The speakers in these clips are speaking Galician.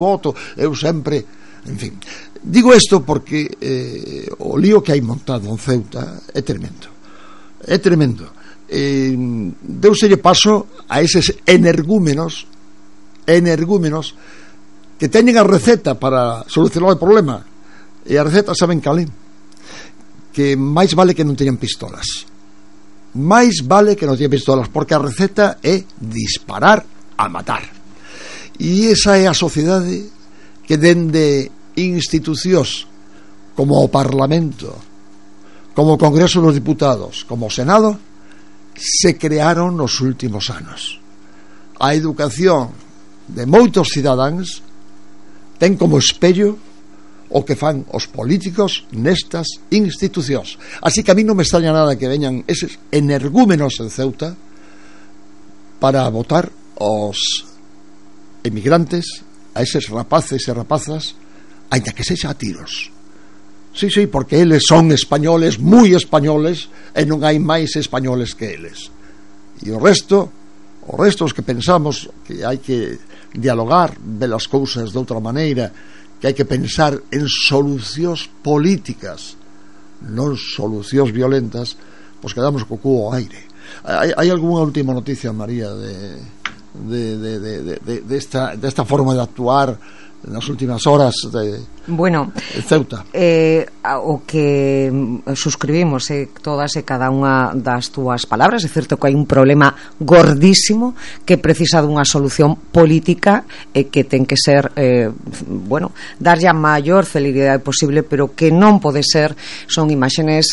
voto, eu sempre, en fin. Digo isto porque o lío que hai montado en Ceuta é tremendo. É tremendo. Deuselle paso a eses energúmenos que teñen a receta para solucionar o problema. E a receta saben cal é? Que máis vale que non teñan pistolas. Máis vale que non teñan pistolas, porque a receta é disparar a matar. E esa é a sociedade que dende institucións como o Parlamento, como o Congreso dos Diputados, como o Senado, se crearon nos últimos anos. A educación de moitos cidadáns ten como espello o que fan os políticos nestas institucións. Así que a mí non me extraña nada que veñan eses energúmenos en Ceuta para votar os emigrantes, a eses rapaces e rapazas, aínda que sexa a tiros. Sí, porque eles son españoles, moi españoles, e non hai máis españoles que eles. E o resto, os que pensamos que hai que dialogar, ver as cousas de outra maneira, que hai que pensar en solucións políticas, non solucións violentas, pois quedamos co cu ao aire. Hai algunha última noticia, María, desta forma de actuar nas últimas horas de Ceuta? O que suscribimos todas e cada unha das túas palabras. É certo que hai un problema gordísimo que precisa dunha solución política e que ten que ser darlle a maior celeridade posible, pero que non pode ser son imaxenes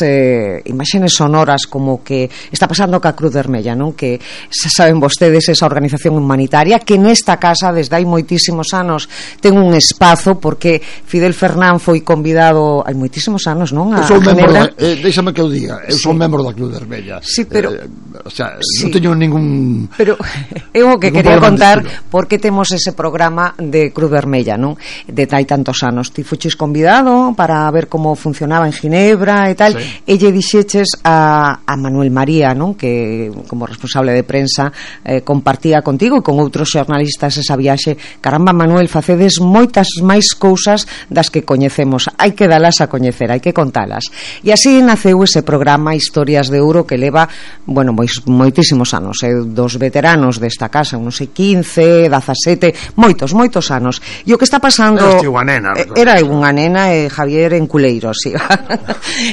sonoras como que está pasando ca Cruz Vermella, non? Que saben vostedes, esa organización humanitaria que nesta casa desde hai moitísimos anos ten un espazo, porque Fidel Fernán foi convidado hai moitísimos anos, non? Eu son membro déxame que eu diga, eu son membro da Cruz Vermella. Sí, pero non teño ningún. Pero eu o que quería contar porque temos ese programa de Cruz Vermella, non? De hai tantos anos. Ti fuches convidado para ver como funcionaba en Ginebra e tal, e lle dixeches a Manuel María, non? Que como responsable de prensa compartía contigo e con outros xornalistas esa viaxe. Caramba, Manuel, facedes moitas máis cousas das que coñecemos, hai que dalas a coñecer, hai que contalas. E así naceu ese programa Historias de Ouro que leva, moitísimos anos, dos veteranos desta casa, non sei, 15, 17, moitos anos. E o que está pasando era unha nena e Javier en Culeiros, sí.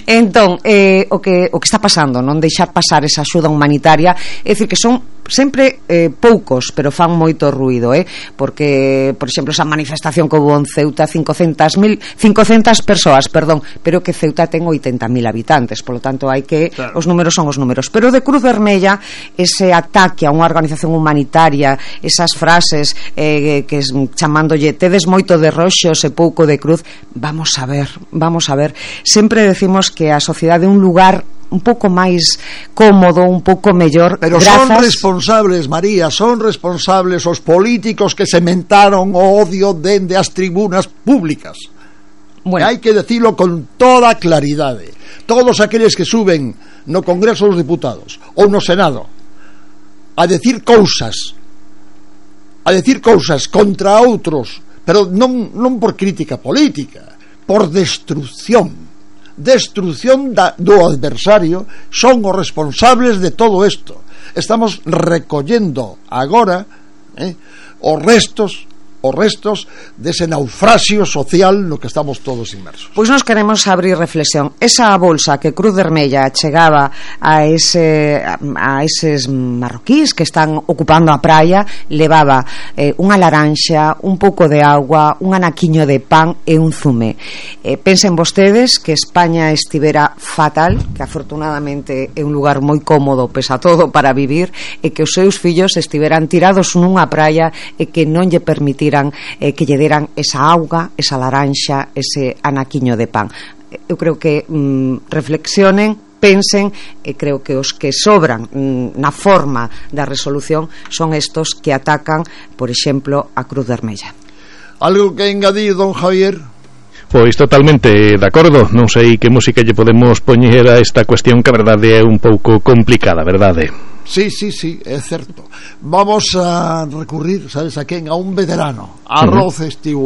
Entón, o que está pasando, non deixar pasar esa axuda humanitaria, é dicir que son sempre poucos, pero fan moito ruído, porque, por exemplo, esa manifestación que houve en Ceuta, 500 persoas, pero que Ceuta ten 80.000 habitantes, polo tanto hai que, os números son os números. Pero de Cruz Vermella, ese ataque a unha organización humanitaria, esas frases que chamándolle tedes moito de roxos e pouco de cruz, vamos a ver, sempre decimos que a sociedade é un lugar un pouco máis cómodo, un pouco mellor, pero grazas... son responsables, María, son responsables os políticos que sementaron o odio dende as tribunas públicas. Hai que decirlo con toda claridade. Todos aqueles que suben no Congreso dos Diputados ou no Senado a decir cousas contra outros, pero non por crítica política, por destrucción do adversario, son os responsables de todo isto. Estamos recollendo agora os restos dese naufraxio social no que estamos todos inmersos. Pois nos queremos abrir reflexión. Esa bolsa que Cruz Vermella chegaba a eses marroquíes que están ocupando a praia, levaba unha laranxa, un pouco de agua, un anaquiño de pan e un zume. Pensen vostedes que España estivera fatal, que afortunadamente é un lugar moi cómodo pese a todo para vivir, e que os seus fillos estiveran tirados nunha praia e que non lle permitiran que lle deran esa auga, esa laranxa, ese anaquiño de pan. Eu creo que reflexionen, pensen, e creo que os que sobran na forma da resolución son estos que atacan, por exemplo, a Cruz Vermella. Algo que engadir, don Javier? Pois totalmente de acordo. Non sei que música lle podemos poñer a esta cuestión, que a verdade é un pouco complicada, verdade? Sí, é certo. Vamos a recurrir, sabes a quen? A un veterano, a Rod Stewart.